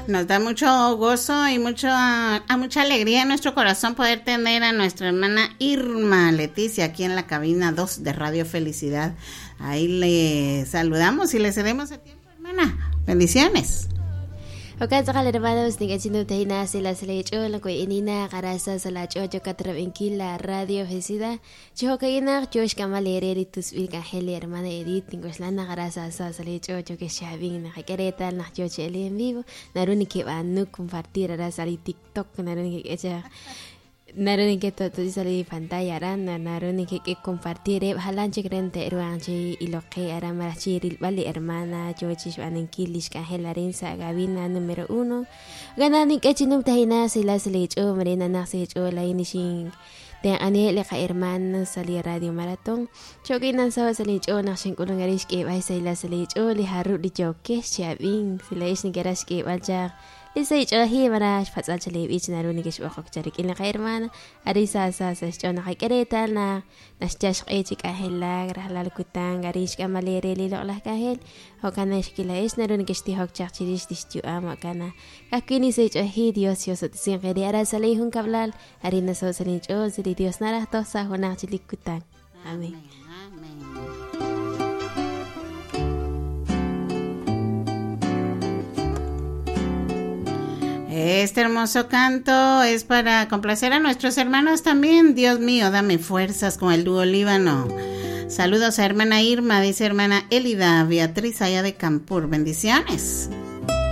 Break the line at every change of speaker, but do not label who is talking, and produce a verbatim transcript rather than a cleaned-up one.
Nos da mucho gozo y mucho, a mucha alegría en nuestro corazón poder tener a nuestra hermana Irma Leticia aquí en la cabina dos de Radio Felicidad. Ahí le saludamos y le cedemos el tiempo, hermana. Bendiciones.
Jo'kan tz'aqal hermanos nik'achinu tahina sila sila ko inina qarasa sala ch'ocho katrab'inkil la Radio Felicidad chijo'ka'inaq yox k'amal ereri tusb'il k'ajel li hermana Edith tink'oxlan qarasa sa sala ch'ocho ke xab'in naqak'eretal naq yo che'el en vivo naru nikib'anuk compartir ara sali TikTok naru nikik'echaj naru niketo'to'si sali pantalla aran naru nikik'e compartir jalan chik ren te'ruan chi iloqe ara maraj chi rilb'al li hermana yo chi xb'anankil lix k'anjel arin sa cabina número uno gana nik'e chinum tajina sila sila ch'o marina naq si ch'o la inixin tenq'ani li qa hermana sali Radio Maratón chokinan sawa sali ch'o naq xink'ulun ari xk'eb'ay sila sali ch'o li jarub' li yokex chab'in sila ix nikera xk'eb'al chaq Lisa ich'oji mara xpatz'al chalib'ich naru nikixb'oqok charik'in li qa hermana ari sa sa sa xch'o naqak'eretal na naxchax q'e chi k'ajelak rajlal kutan ari xk'amalere li loq'laj k'ajel jo'kan xkila'ix naru nikixtijok chaq chirix tixyu'am jo'kan kajwi' nisa ich'oji Dios yoso'tisin qeri ara salij jun kab'lal ari naso' salin ch'ol sili Dios naraj toj sa junaj chilik kutan. Amén.
Este hermoso canto es para complacer a nuestros hermanos también. Dios mío, dame fuerzas con el dúo Líbano. Saludos a hermana Irma, dice hermana Elida Beatriz allá de Campur. Bendiciones.